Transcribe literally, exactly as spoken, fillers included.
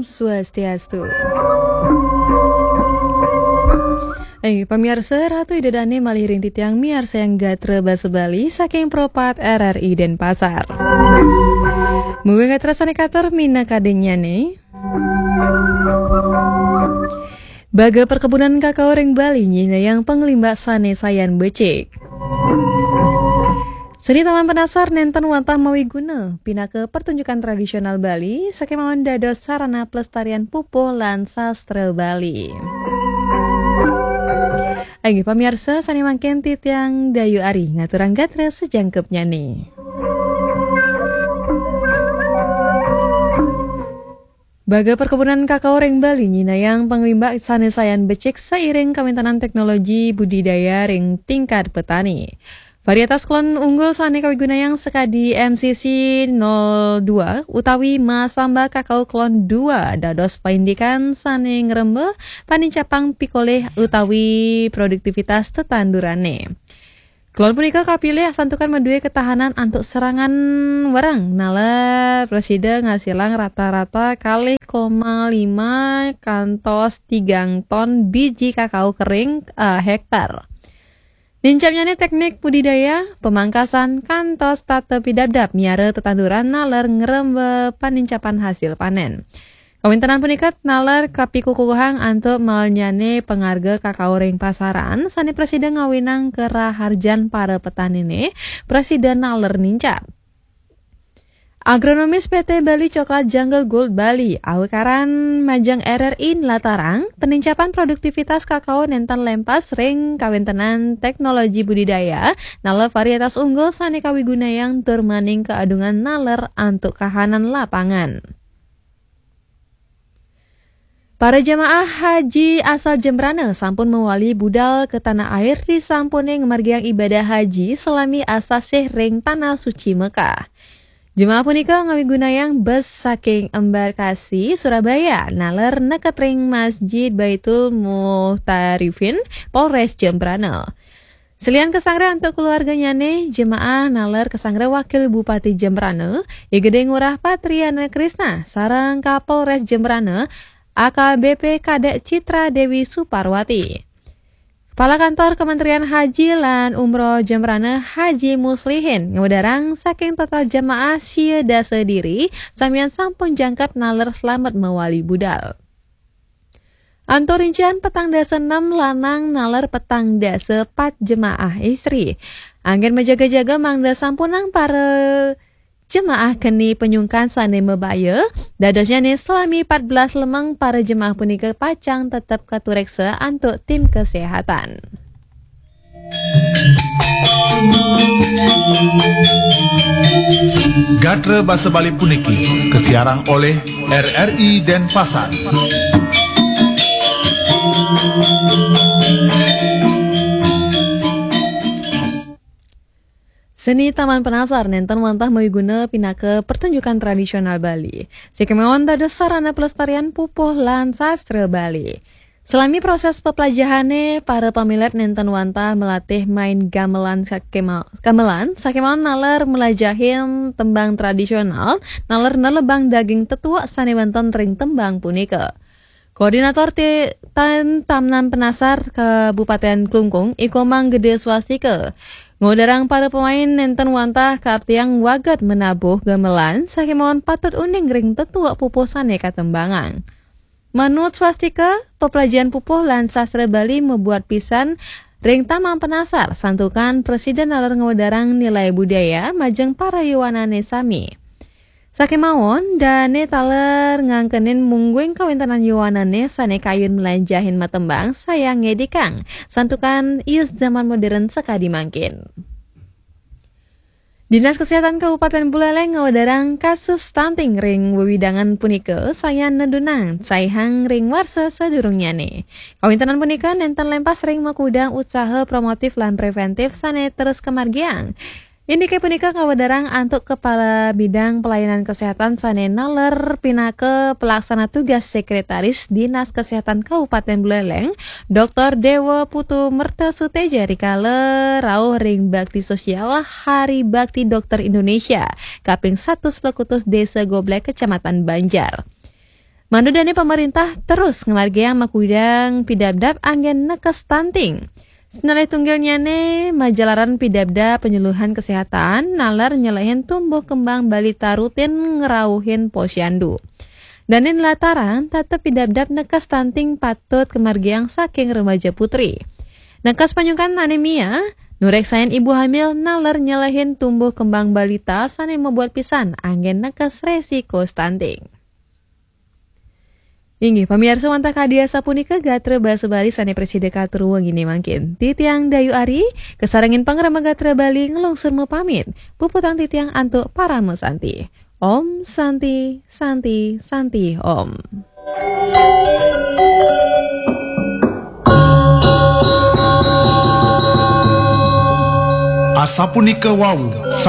Swastiastu. Eh, pamiarsa, Ratu Ida Dane malih ring titiang miarsayang gatra basa Bali saking Pro pat R R I Denpasar. Mungguing gatra sane katur minakadinnyane. Baga perkebunan kakao ring Bali nyinayang panglimbak sane sayan becik. Seni Taman Penasar nenten wantah mawiguna pinaka pertunjukan tradisional Bali, sakemawon dados sarana pelestarian pupuh lan sastra Bali. Inggih pamiarsa, sane mangkin titiang Dayu Ari ngaturang gatra sajangkepnyane. Baga perkebunan kakao ring Bali nyinayang panglimbak sane sayan becik sairing kawentenan teknologi budidaya ring tingkat petani. Varietas klon unggul sane kawigunayang sakadi M C C nol dua utawi Masamba Kakao Klon dua dados paindikan sane ngremba panincapang pikolih utawi produktivitas tetandurane. Klon punika kapilih santukan madue ketahanan antuk serangan wereng, naler prasida ngasilang rata-rata kalih koma lima kantos tigang ton biji kakao kering a hektar. Nincapnyane teknik budidaya, pamangkasan, kantos tata pidabdab miara tetanduran naler ngremba panincapan hasil panen. Kawentenan punika naler kapikukuhang antuk maelnyane pangarga kakao ring pasaran, sane prasida ngawinang karaharjan para petanine, prasida naler nincap. Agronomis P T Bali Coklat Jungle Gold Bali, awikaran majeng R R I nlatarang, penincapan produktivitas kakao nenten lempas ring kawentenan teknologi budidaya, naler varietas unggul sane kawigunayang tur maning kaadungan naler antuk kahanan lapangan. Para jemaah haji asal Jembrana sampun mawali budal ka tanah air risampune ngamargiang ibadah haji salami asasih ring Tanah Suci Mekah. Jemaah punika ngawigunayang bus saking embarkasi Surabaya naler neket ring Masjid Baitul Muhtarifin, Polres Jembrana. Selian kasanggra antuk keluarganyane, jemaah naler kasanggra Wakil Bupati Jembrana, I Gede Ngurah Patriana Krisna, sareng Kapolres Jembrana, A K B P Kadek Citra Dewi Suparwati. Kepala Kantor Kementerian Haji lan Umroh Jembrana Haji Muslihin ngawedarang saking total jemaah sia dasa diri, samian sampun jangkep naler slamet mawali budal. Antuk rincian petang dasa nem lanang naler petang dasa pat jemaah istri. Anggen majaga-jaga mangda sampunang para jemaah keni panyungkan sane mabaya, dadosnyane salami pat belas lemeng para jemaah punika pacang tetep katureksa antuk tim kesehatan. Gatra basa Bali puniki kasiarang oleh R R I Denpasar. Seni Taman Penasar nenten wantah mawiguna pinaka pertunjukan tradisional Bali. Sakemawon dados sarana pelestarian pupuh lan sastra Bali. Salami proses peplajahane, para pamilet nenten wantah malatih main gamelan sakema-, gamelan, sakemawon naler mlajahin tembang tradisional, naler nelebang daging tetuek sane wenten ring tembang punika. Koordinator Ti-, Tan-, Taman Penasar Kabupaten Klungkung, I Komang Gede Swastika, ngawedarang para pemain nenten wantah kaaptiang waget manabuh gamelan, sakemawon patut uning ring tetuek pupuh sane katembangang. Manut Swastika, peplajahan pupuh lan sastra Bali mabuat pisan ring Taman Penasar, santukan prasida naler ngawedarang nilai budaya majeng para yowanane sami. Sakemawon, dane taler ngangkenin mungguing kawentenan yowanane sane kayun mlajahin matembang sayan ngedikang, santukan ius zaman modern sakadi mangkin. Dinas Kesehatan Kabupaten Buleleng ngawedarang kasus stunting ring wewidangan punika sayan nedunang saihang ring warsa sadurungnyane. Kawentenan punika nenten lempas ring makudang usaha promotif lan preventif sane terus kamargiang. Indike punika ngawedarang antuk Kepala Bidang Pelayanan Kesehatan sane naler pinaka pelaksana tugas Sekretaris Dinas Kesehatan Kabupaten Buleleng, Doktor Dewa Putu Merta Suteja rikala rauh ring bakti sosial Hari Bakti Dokter Indonesia kaping satus plekutus Desa Goblek, Kecamatan Banjar. Mandu dane pamarintah terus ngamargiang makudang pidabdab anggen nekes stunting. Sinalih tunggilnyane majalaran pidabdab penyuluhan kesehatan naler nyelehin tumbuh kembang balita rutin ngerauhin posyandu. Dane nlataran tetep pidabdab nekes stunting patut kemargiang saking remaja putri. Nekes panyungkan anemia, nureksain ibu hamil naler nyelehin tumbuh kembang balita sane mabuat pisan anggen nekes resiko stunting. Inggih, pamiarsa, wantah kadi asapunika gatra basa Bali sane prasida katur wengine mangkin. Titiang Dayu Ari, kasarengin pangrama gatra Bali nglungsur mapamit. Puputang titiang antuk parama santi. Om Santi, Santi, Santi Om. Asapunika wau